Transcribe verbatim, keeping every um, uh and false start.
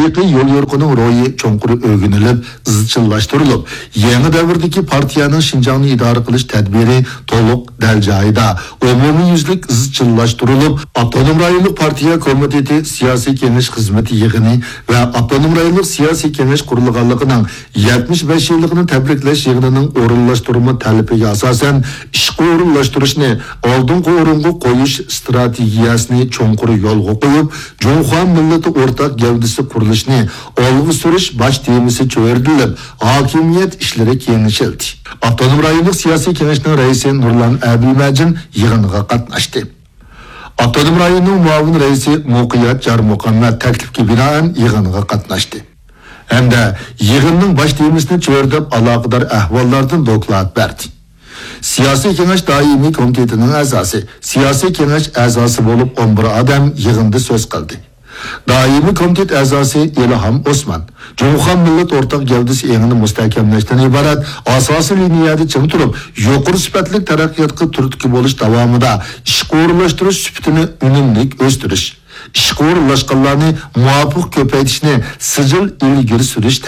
ھەقىقىي يوليورۇقىنىڭ روھى چوڭقۇر ئۆگىنىلىپ، ئىزچىللاشتۇرۇلۇپ، يېڭى دەۋردىكى پارتىيەنىڭ شىنجاڭنى ئىدارە قىلىش تەدبىرى تولۇق دەل جايىدا، ئومۇميۈزلۈك ئىزچىللاشتۇرۇلۇپ، ئاپتونوم رايونلۇق پارتىيە كومىتېتى سىياسىي كېڭەش خىزمىتى يىغىنى ۋە ئاپتونوم رايونلۇق سىياسىي كېڭەش قۇرۇلغانلىقىنىڭ يەتمىش بەش يىللىقىنى تەبرىكلەش يىغىنىنىڭ ئورۇنلاشتۇرما تەلىپىگە ئاساسەن، ئىشقا ئورۇنلاشتۇرۇشنى ئالدىنقى ئورۇنغا قويۇش ئىستراتېگىيەسىنى چوڭقۇر يولغا قويۇپ، جۇڭخۇا مىللىتى ئورتاق گەۋدىسى قۇرۇلۇشىنى ئالغا سۈرۈش باش تېمىسى چۆرىدىلىپ، ھاكىمىيەت ئىشلىرى كېڭىشىلدى. ئاپتونوم رايونلۇق سىياسىي كېڭەشنىڭ رەئىسى نۇرلان ئەبىلمەجىن يىغىنغا قاتناشتى. ئاپتونوم رايوننىڭ مۇئاۋىن رەئىسى مۇقىيەت جارمۇقەممەت تەكلىپكە بىنائەن يىغىنغا قاتناشتى ھەمدە يىغىننىڭ باش تېمىسىنى چۆرىدەپ، ئالاقىدار ئەھۋاللاردىن دوكلات بەردى. سىياسىي كېڭەش دائىمىي كومىتېتىنىڭ ئەزاسى، سىياسىي كېڭەش ئەزاسى بولۇپ ئون بىر ئادەم يىغىندا سۆز قىلدى. دائىمىي كومىتېت ئەزاسى ئىلھام ئوسمان جۇڭخۇا مىللەت ئورتاق گەۋدىسى ئېڭىنى مۇستەھكەملەشتىن ئىبارەت ئاساسىي لىنىيەدە چىڭ تۇرۇپ، يۇقىرى سۈپەتلىك تەرەققىياتقا تۈرتكە بولۇش داۋامىدا ئىشقا ئورۇنلاشتۇرۇش سۈپىتىنى ئۈنۈملۈك ئۆستۈرۈش، ئىشقا ئورۇنلاشقانلارنى مۇۋاپىق كۆپەيتىشنى سىجىل ئىلگىرى سۈرۈش